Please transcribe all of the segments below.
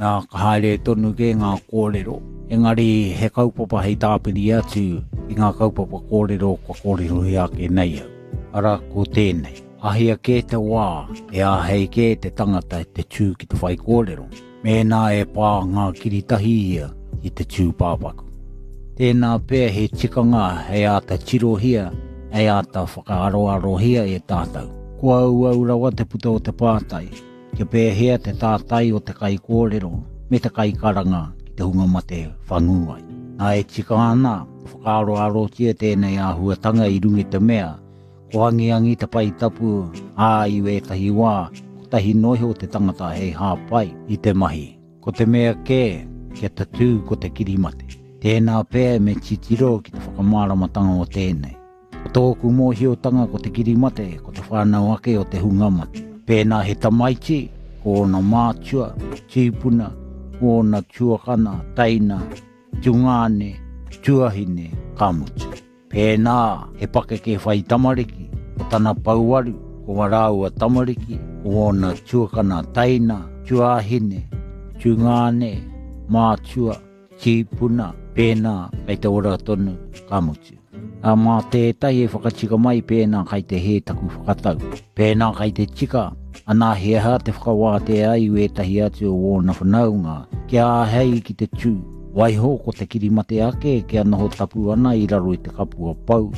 Nā, ka haere tonu kē ngā kōrero, engari he kaupapa hei tāpiri atu i ngā kaupapa kōrero kua kōrerohia ake nei au. Arā, ko tēnei. Ahia kē te wā e āhei kē te tangata te tū ki te whaikōrero, mēnā e pā ngā kiritahi ia ki te tūpāpaku. Tēnā pea he tikanga hei āta tirohia, hei āta whakaaroarohia e tātou. Kua auau rawa te puta o te pātai, Kia pēhea te tātai o te kaikōrero me te kaikaranga ki te hunga mate whangū ai. Nā e tika ana, whakaaroarotia tēnei āhuatanga i runga i te mea, ko angiangi te pae tapu, ā, i wētahi wā, kotahi noa iho te tangata hei hāpai i te mahi. Ko te mea kē, kia tatū ko te kirimate. Tēnā pea me titiro ki te whakamāramatanga o tēnei. Ko tōku mōhiotanga ko te kirimate, ko te whānau ake o te hunga mate. Pēnā he tamaiti, ko ōna mātua, tīpuna, ko ōna tuakana, teina, tungāne, tuahine, ka mutu. Pēnā he pakeke whai tamariki, ko tana pouaru, ko ā rāua tamariki, ko ōna tuakana, teina, tuāhine, tungāne, mātua, tīpuna, pēnā kei te ora tonu, ka mutu. Ā, mā tētahi e whakatika mai pēnā kai te hē taku whakatau. Pēnā kai te tika, anā he aha te whakawātea ai wētahi atu o ōna whanaunga kia āhei ki te tū, waiho ko te kirimate ake kia noho tapu ana i raro i te kapua pou.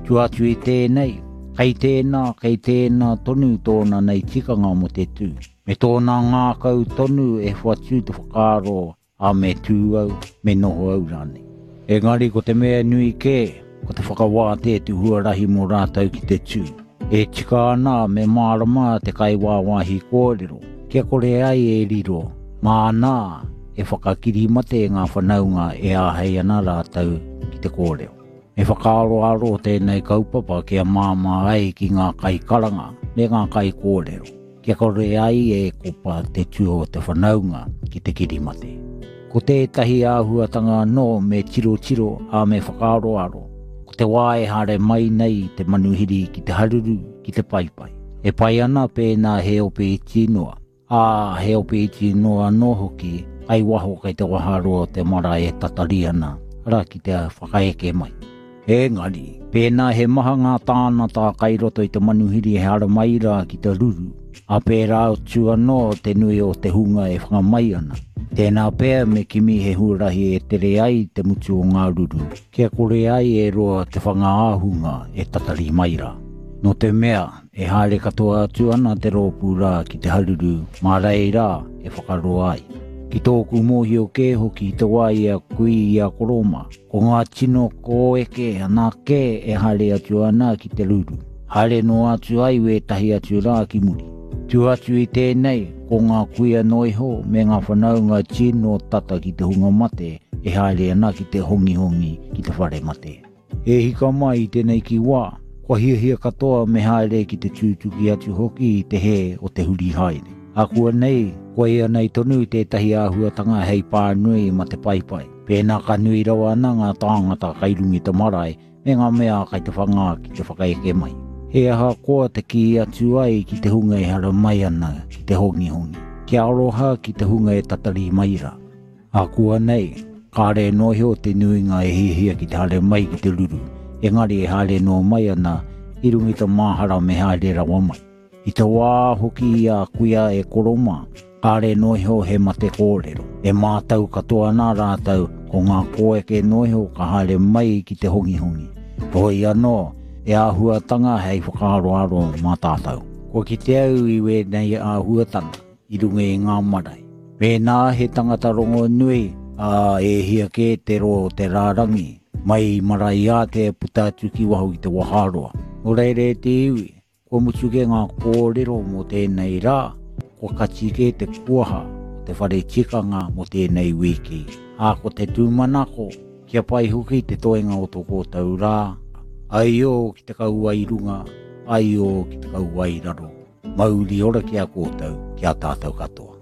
Tua atu i tēnei, kei tēnā, kei tēnā tonu tōna nei tikanga mō te tū. Me tōna ngākau tonu e whatu te whakaaro Ā, me tū au, me noho au rānei. Engari ko te mea nui kē, ko te whakawātea te huarahi mō rātou ki te tū. E tika ana me mārama te kaiwāwāhi kōrero, kia kore ai e riro, māna e whakakirimate ngā whanaunga e āhei ana rātou ki te kōrero. Me whakaaroaro tēnei kaupapa kia māmā ai ki ngā kaikaranga me ngā kaikōrero. Kia kore ai e kopa te tua o te whanaunga ki te kirimate. Ko tētahi āhuatanga anō me tirotiro, ā, me whakaaroaro, ko te wā e haere mai nei te manuhiri ki te haruru, ki te paipai. E pai ana pēnā he ope iti noa, ā, he ope iti noa anō hoki kai waho kei te waharoa o te marae e tatari ana, arā, ki te whakaeke mai. Engari, pēnā he maha ngā tānata kai roto i te manuhiri e haramai rā ki te ruru, ā pērā atu anō te nui o te hunga e whanga mai ana. Tēnā pea me kimi he huarahi e tere ai te mutu o ngā ruru, kia kore ai e roa te whanga ā-hunga e tatari mai rā. Nō te mea, e haere katoa atu ana te rōpū rā ki te haruru, mā reira e whakaroa ai. Ki tōku mōhio kē hoki i te wā i a kui i a koro mā, Ko ngā tino kōeke anake e haere atu ana ki te ruru. Haere noa atu ai wētahi atu rā ki muri. Tua atu i tēnei, ko ngā kuia noa iho me ngā whanaunga tino tata ki te hunga mate e haere ana ki te hongihongi ki te whare mate. E hika mai i tēnei ki wā, kua hiahia katoa me haere ki te tūtuki atu hoki i te hē o te huri haere. Ākuanei, koia nei tonu tētahi āhuatanga hei pānui ma te paepae. Pēnā ka nui rawa ana ngā tāngata kai runga i te marae me ngā mea kai te whangā ki te whakaeke mai. He ahakoa te kī atu ai ki te hunga e haramai ana ki te hongihongi, kia aroha ki te hunga e tatari mai rā. Ākuanei, kāre noa iho te nuinga e hiahia ki te haere mai ki te ruru, engari e haere noa mai ana i runga i te māhara me haere rawa mai. I te wā hoki i a kuia e koro mā, kāre noa iho he mate kōrero. E mātau katoa ana rātou ko ngā kōeke noa iho ka haere mai ki te hongihongi. Heoi anō, he āhuatanga hei whakaaroaro mā tātou. Kua kite au i wēnei āhuatanga i runga i ngā marae. Mēnā he tangata rongonui, ā, e hia kē te roa o te rārangi, mai i Maraeātea puta atu ki waho ki te waharoa. Nō reira e te iwi, Kua mutu kē ngā kōrero mō tēnei rā, kua kati kē te kuaha o te whare tikanga mō tēnei wiki. Ā, ko te tūmanako, kia pai hoki te toenga o tō kōtou rā, aio ki te kauae runga, aio ki te kauae raro. Mauri ora ki a kōtou, ki a tātou katoa.